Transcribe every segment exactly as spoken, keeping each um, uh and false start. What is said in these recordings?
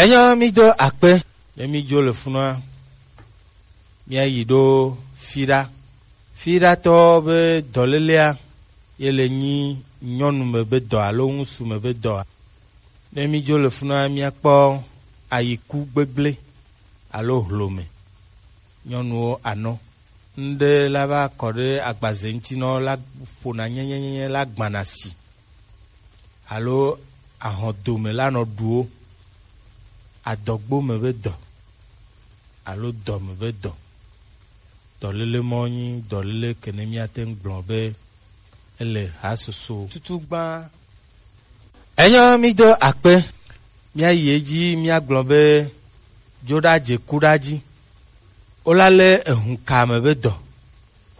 Enyo, mi do akpe. Ne mi dzo le funua, mia yi ɖo fiɖa. Fiɖatɔ be dɔlelea, ye le nyi nyɔnu me be dɔ alo ŋusu me be dɔa. Ne mi dzo le funua, mia kpɔ ayiku gbegble alo hlome. Nyɔnuwo anɔ. Ŋɖe la va kɔ ɖe agbaze ŋuti nɔ la ƒona nyɛnyɛnyɛ la gbana si. Alo ahɔdome la nɔ ɖu wo. Adɔgbo me be dɔ. Alo dɔ me be dɔ. Dɔlele mɔ nyi dɔlele ke ne míate ŋu gblɔ be ele hasoso tutu gbã. Enyo, mi do akpe. Míayi edzi míagblɔ be dzoɖadze kuɖadzi. Wola lé ehunka me be dɔ.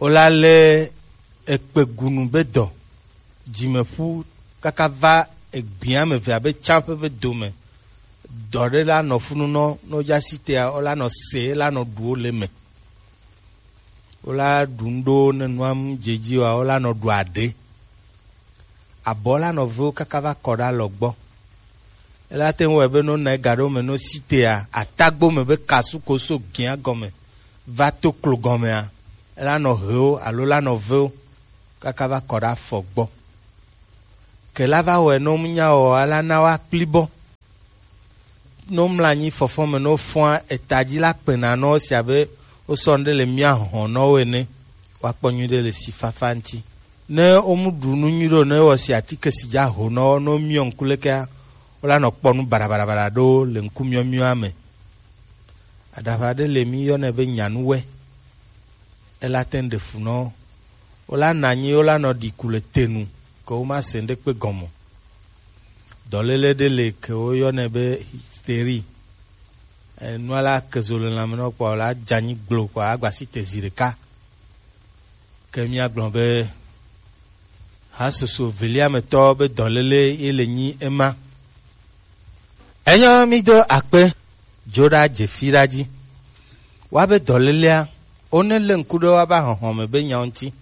Wola lé ekpegunu be dɔ. Dzimeƒu kaka va egbea me ve abe tsaƒe be dome. Dɔ ɖe la nɔ funu nɔ, ne wodze asi tea, wola nɔ se, la nɔ ɖu wo le eme. Wola ɖu nu ɖewo ne nua mu dze edzi oa, wola nɔ ɖu aɖe. Abɔ la nɔ ve wo kaka va kɔ ɖe alɔ gbɔ. Ela te ŋu wɔe be ne wona ega ɖe wo me ne wosi tea, atagbo me be kasu ko so gĩa gɔme va to klo gɔmea, ela nɔ he wo alo la nɔ ve wo kaka va kɔ ɖe afɔ gbɔ. Ke la va wɔe ne womu nya o, ela na woakpli bɔ. Ne womlɔ anyi fɔfɔ me, ne wofɔa eta dzi la kpena nɔ wo si abe wosɔ nu ɖe le mia hɔn nɔ wo ene. Woakpɔ nyuiɖe le si fafa ŋuti. Ne womu ɖu nu nyui ɖo, ne wɔ si atike si dza ho nɔ wo, ne womiɔ ŋku lekea, wola nɔ kpɔ nu baɖabaɖabaɖa ɖo le ŋku miɔmiɔa me. Aɖaʋa ɖe le mi yɔnɛ be nyanuwɛ. Ela te ŋu ɖe fu nɔ wo. Wola nɔ anyi, wola nɔ ɖi ku le te nu, ke woma se ŋɖekpe gɔme o. Dɔlele ɖe le ke woyɔnɛ be hystérie. Enua la ke zo le lãme nɔ kpɔ, la dze anyi gblo kpɔ, agba si te zi ɖeka. Ke míagblɔ be hasoso velia me tɔ be dɔlele ye le nyi ema. Enyo, mi do akpe. Dzo ɖa dze fi ɖa dzi. Woabe dɔlelea, wone le ŋku ɖe woabe ahɔhɔme be nyawo ŋuti.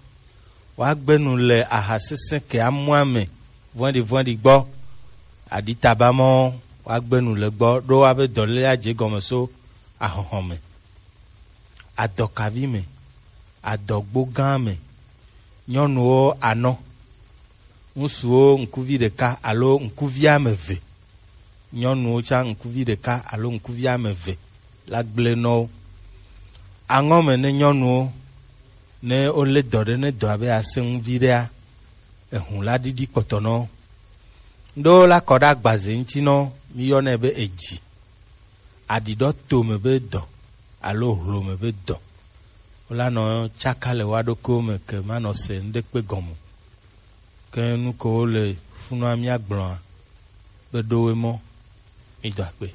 Woagbe nu le aha sesẽ ke amua me vɔ̃ɖi vɔ̃ɖi gbɔ. Aɖitaba mɔ, woagbe nu le gbɔ ɖo woabe dɔlelea dze gɔme so ahɔhɔme. Adɔkavi me, adɔgbo gã me, nyɔnuwo anɔ, ŋutsuwo ŋkuvi ɖeka alo ŋkuvi ame eve, nyɔnuwo tsã ŋkuvi ɖeka alo ŋkuvi ame eve la gblẽ nɔ wo. Aŋɔ me ne nyɔnuwo, ne wolé dɔ ɖe, ne dɔa be asẽ ŋu viɖea, ehũ la ɖiɖi kpɔtɔ nɔ wo. Ŋɖewo la kɔ ɖe agbaze ŋuti nɔ wo, míyɔnɛ be edzi. Aɖiɖɔ to me be dɔ alo hlo me be dɔ. Wola nɔ tsaka le woa ɖokuiwo me ke manɔ se ŋɖekpe gɔme o. Ke nu ko wole funua míagblɔa be ɖo woe mɔ, mi do akpe.